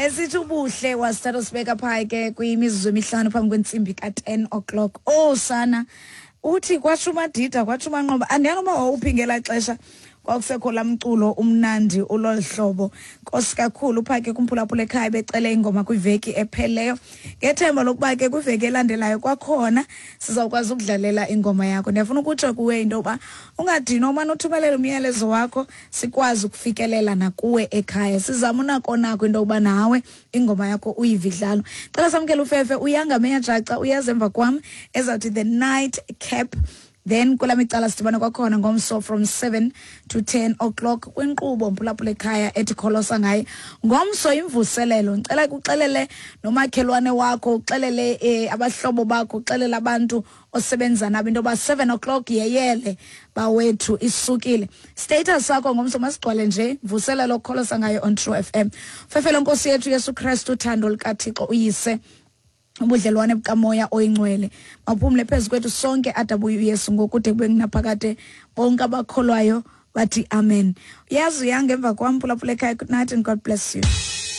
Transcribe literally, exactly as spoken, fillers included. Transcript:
Esithi ubuhle wasithatha usibeka phaa ke kwimizuzu emihlanu phambi kwentsimbi ka-ten o'clock. Oh sana, uthi kwatsho uMadida, kwatsho uManqoba. Andiyazi uba wawuphi ngelaa xesha kwakusekho laa mculo umnandi ulolu hlobo. Nkosi kakhulu phaa ke kumphulaphula ekhaya becele ingoma kwiveki ephelileyo, ngethemba lokuba ke kwiveki elandelayo kwakhona sizawukwazi ukudlalela ingoma yakho. Ndiyafuna ukutsho kuwe into yoba ungadinwa, umane uthumelela umyalezo wakho sikwazi ukufikelela nakuwe ekhaya. Sizama unako nako into yokuba nawe ingoma yakho uyive idlalwa. Cela samkele ufefe uyanga meyajaca uyaza emva kwam ezawuthi The Night Cap. Then kula micala sidibana kwakhona ngomso from seven to ten o'clock kwinkqubo mphulaphula ekhaya ethi Kholosa Ngaye. Ngomso imvuselelo, ndicela kuxelele nomakhelwane wakho, uxelele eh, abahlobo bakho, uxelele abantu osebenza nabo into yoba seven o'clock yeyele bawethu isukile. Status sakho ngomso masigcwale nje mvuselelo Kholosa Ngaye on True F M. Fefelo Nkosi yethu Yesu Kristu, uthando likaThixo uyise, ubudlelwane bukamoya oyingcwele maphumle phezu kwethu sonke adabuye uYesu ngokude kube ngunaphakade. Bonke abakholwayo bathi amen. Uyazi uyanga emva kwam, phulaphula ekhaya. Good night and God bless you.